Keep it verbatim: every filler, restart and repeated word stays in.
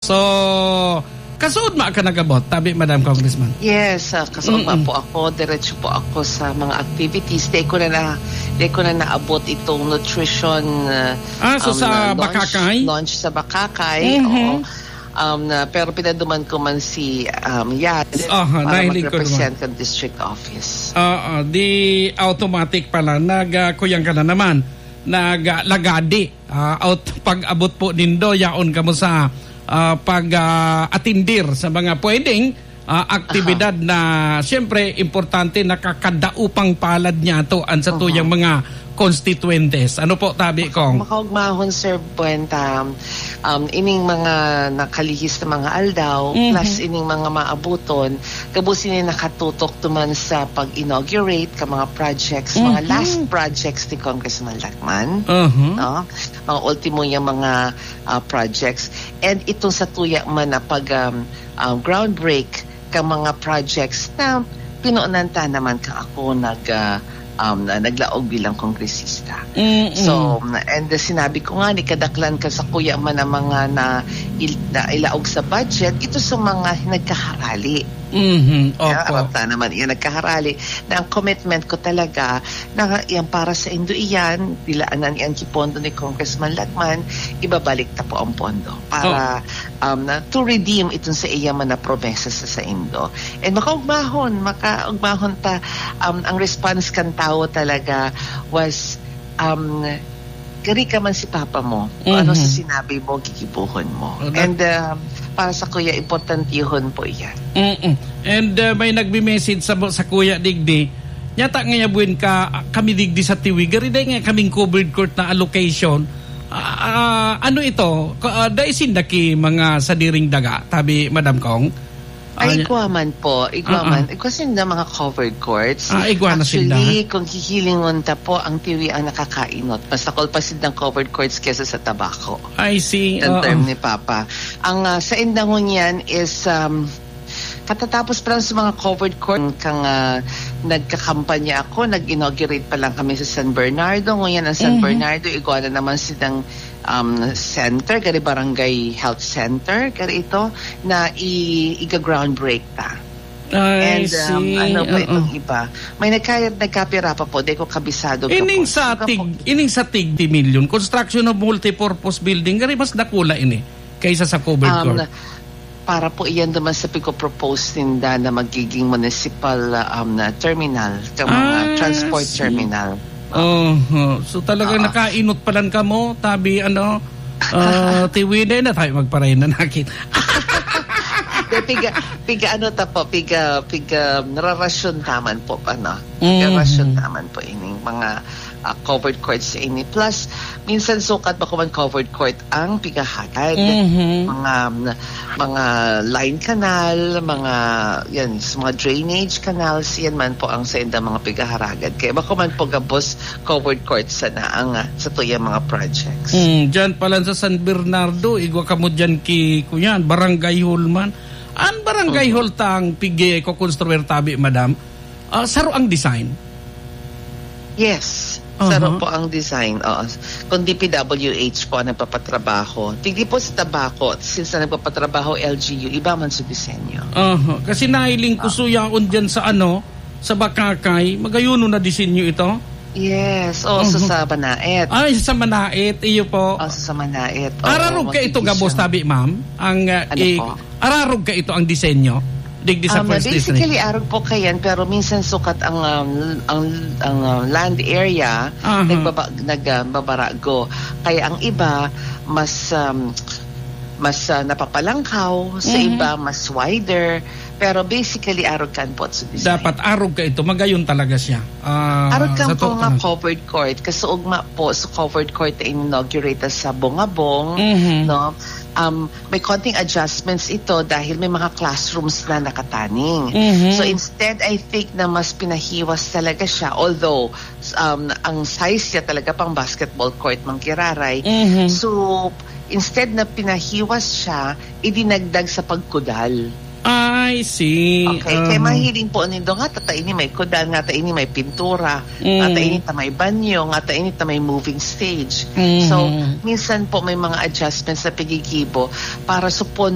So, kasuod ma ka nag-abot, tabi, Madam Congressman? Yes, ah, kasuod ma Mm-mm. po ako, diretso po ako sa mga activities. Di ko na na-, di ko na naabot itong nutrition, ah, Ah, so um, sa na launch, Bacacay? launch sa Bacacay, Mhm. oo. Um, na, pero pinaduman ko man si, um, Yaz Aha, para nahiling ko naman. mag-represent ng district office. Oo, di automatic pala, nag, ah, kuyang ka na naman, nag, ah, lagadi. Ah, out, pag-abot po nindo, yaon kamo sa, ah, pag, ah, atindir sa mga pwedeng, ah, aktibidad Aha. na, siyempre, importante, nakakadaupang palad niya to ang sa Aha. tuyang mga constituentes. Ano po, tabi, Maka-, Kong? makaugmahon, Sir Buenta, um, ining mga nakalihis na mga aldaw, Mhm. plus ining mga maabuton, gabos ini nakatutok duman sa pag-inaugurate ka mga projects, mga Mhm. last projects ni Congressman Lacman. Mhm. No? Mga ultimo niyang mga, ah, projects. And itong sa tuya man na pag, um, um, groundbreak ka mga projects na pinunan ta naman ka ako nag, ah, um, na naglaog bilang kongresista. Mm-mm. So, and sinabi ko nga, ni kadaklan ka sa kuya man ang mga na, il-, na ilaog sa budget, ito sa mga nagkaharali. Mhm, Kaya opo. aram ta naman iyan nagkaharali na ang commitment ko talaga na yan para sa indo iyan, dilaanan iyan ki pondo ni Congressman Lacman, ibabalik ta po ang pondo para, Oh. um, na, to redeem itong sa iya man na promesa sa saindo. And makaugmahon, makaugmahon ta, um, ang response kan tawo talaga was, um, "Gari ka man si papa mo, kung ano sa Mhm. sinabi mo, gigibohon mo." Oh, that And, um, para sa kuya, importantihon po iyan. Mm-mm. And, uh, may nagme-message sa, sa kuya digdi, nyata ngaya buwan ka, kami digdi sa Tiwi, gari dai nga kaming covered court na allocation. Ah, ah, ano ito? Ka-, ah, dai sinda ki mga sadiring daga, tabi, Madam Kong? Ay, Ah, igwa man po. Igwa Ah, ah. man. Igwa sinda mga covered courts. Ah, igwa na sinda. Actually, kung hihilingon ta po, ang Tiwi ang nakakainot. Mas dakul pa sindang covered courts kesa sa tabako. I see. Ang Oo. term ni Papa. Ang, ah, sa indangon yan is, um, katatapos pa lang sa mga covered court, kang, ah, nagkakampanya ako, nag-inaugurate pa lang kami sa San Bernardo. Ngunyan ang San Mhm. Bernardo, igwa na naman silang, um, center, gari barangay health center, gari ito, na i-, iga-groundbreak ta. I And, um, see. ano pa Oo. itong iba? May nagka-, nagkapira pa po, di ko kabisado ka Ining po. sa Iba po. tig-, ining sa tig di milyon, construction of multipurpose building, gari mas dakula ini kaysa sa covered Um, court. Para po iyan naman sa pigpo-propose ninda na magiging municipal, um, na terminal, ka mga Ah, transport sige. terminal. Oho. So, talagang Oo. nakainot pa lang kamo, tabi, ano, ah, tiwide na tayo magparay na nakit. De, piga, piga ano ta po, piga, piga nararasyon taman po, ano? Piga Mhm. rasyon taman po ining mga, ah, covered courts ini. Plus, minsan sukat bako man covered court ang pigahagad. Mhm. Mga, mga line canal, mga, yan, s-, mga drainage canals, yan man po ang sa indang mga pigaharagad. Kaya bako man po gabos covered court sana ang, ah, sa tuyang mga projects. Mm, dyan pala sa San Bernardo, igwa kamo dyan ki, kuyan, Barangay Hall man. An Barangay Mhm. Hall tang pigi ko construir tabi, madam. Ah, saro ang design? Yes. Aha. Saro po ang design, oo. Kung D P W H po ang nagpapatrabaho. Tigdi po sa tabako, since na nagpapatrabaho L G U, iba man sa disenyo. Aha. Kasi nahiling ko Ah. suyaon dyan sa ano, sa Bacacay, magayuno na disenyo ito? Yes. Oo, so Mhm. sa Manaet. Ay, sa Manaet, iyo po. Oh, sa Manaet. Oo, Ararog ka ito, magiging gabos, siya. tabi, ma'am? Ang, ah, Ano i-, po? Ararog ka ito ang disenyo? Digdi sa Um, first district? Basically, arog po kayan, pero minsan sukat ang, um, ang, ang, uh, land area, Aha. nagbaba-, nag, uh, babarago. Kaya ang iba, mas, um, mas, uh, napapalangkaw, sa Mhm. iba, mas wider. Pero basically, arog kan po sa design. Dapat arog ka ito, magayon talaga siya. Ah, Arog kan sa po totoo nga lang. covered court. Kasuog nga po sa covered court na in-inaugurate sa Bongabong, Mhm. no? Um, may konting adjustments ito dahil may mga classrooms na nakataning. Mhm. So instead, I think na mas pinahiwas talaga siya, although, um, ang size niya talaga pang basketball court, Mang Kiraray. Mhm. So, instead na pinahiwas siya, idinagdag sa pagkudal. I see. Okay, kaya Aha. mahiling po nindo nga, tata ini may kudal, nga ta ini may pintura, Mm. nga ta ini ta may banyo, nga ta ini ta may moving stage. Mhm. So, minsan po may mga adjustments na pigigibo para supon